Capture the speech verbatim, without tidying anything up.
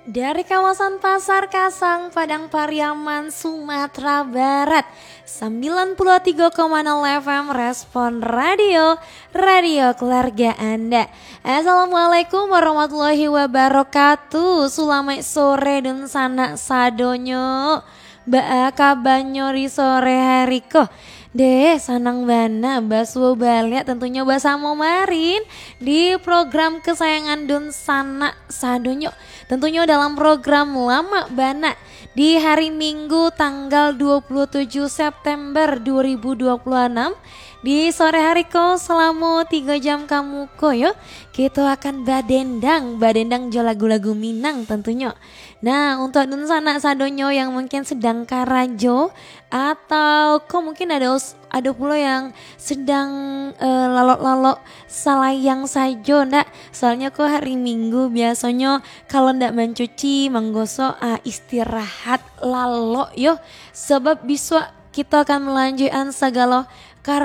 Dari kawasan Pasar Kasang, Padang Pariaman, Sumatera Barat, sembilan puluh tiga koma nol F M Respon Radio, radio keluarga Anda. Assalamualaikum warahmatullahi wabarakatuh. Sulamaik sore dunsanak sadonyo. Baa kabanyo di sore hari ko? Deh, sanang bana basuo baliak tentunyo basamo Marin di program kesayangan dunsanak sadonyo. Tentunyo dalam program Lamak Bana di hari Minggu tanggal dua puluh tujuh September dua ribu dua puluh enam. Di sore hari ko, salamo tigo jam ka muko yo, kito akan badendang, badendang jo lagu-lagu Minang tentunyo. Nah, untuak dunsanak sadonyo yang mungkin sedang karajo, atau ko mungkin ado, ado pulo yang sedang, eh, lalok-lalok salayang sajo, ndak? Soalnyo ko hari Minggu, biasonyo kalau ndak mancuci, manggosok, ah, istirahat lalok yo. Sabab bisuak kito akan malanjuikan sagalo karajo